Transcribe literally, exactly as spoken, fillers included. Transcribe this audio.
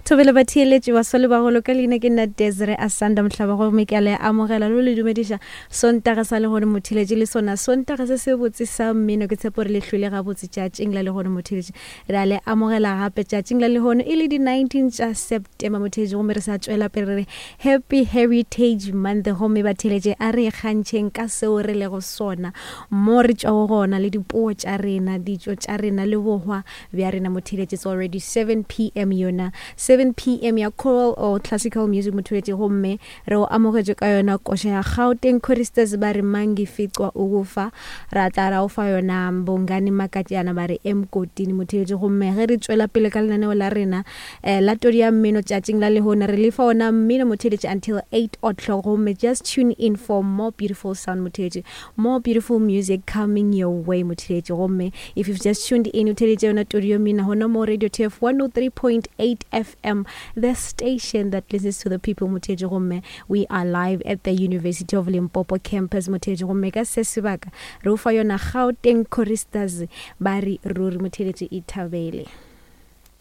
Thobele batheeletši baswa le bagolo, ka leina ke nna Desire Asanda Mohlaba, gomme ke a le amogela le le dumediša Sontaga sa lehono, motheeletši, le sona Sontaga se se botse sa mmino. Ke tshepo re le hlwele gabotse tšatšing la lehono, motheeletši. Re a le amogela gape tšatšing la lehono e le di nineteen tša September, motheeletši, gomme re sa tšwela pele re re Happy Heritage Month. Gomme batheeletši, a re ikgantšheng ka seo re lego sona, mo re tšwago gona, le dipuo tša rena, ditšo tša rena le bohwa bja rena, motheeletši. It's already seven p m, yona seven p m ya choral or classical music, motheeletši, gomme re o amogetše ka yona koša ya Gauteng Choristers, ba re "Mangificwa Ukufa". Ra tla ra o fa yona Bongani Makatjana, ba re "Emgodini", motheeletši. Gomme ge re tšwela pele ka lenaneo la rena eh, la todi ya mmino tšatšing la lehono, re lefa ona mmino, motheeletši, until eight o'clock. Gomme just tune in for more beautiful sound, motheeletši, more beautiful music coming your way, motheeletši. Gomme if you've just tuned in, o theeletše yona todi ya mmino gona mo Radio T F one oh three point eight F M, the station that listens to the people, motheeletši. Gomme we are live at the University of Limpopo campus, motheeletši. Gomme ka se sebaka re o fa yona Gauteng Choristers, ba re "Ruri", motheeletši, ithabele.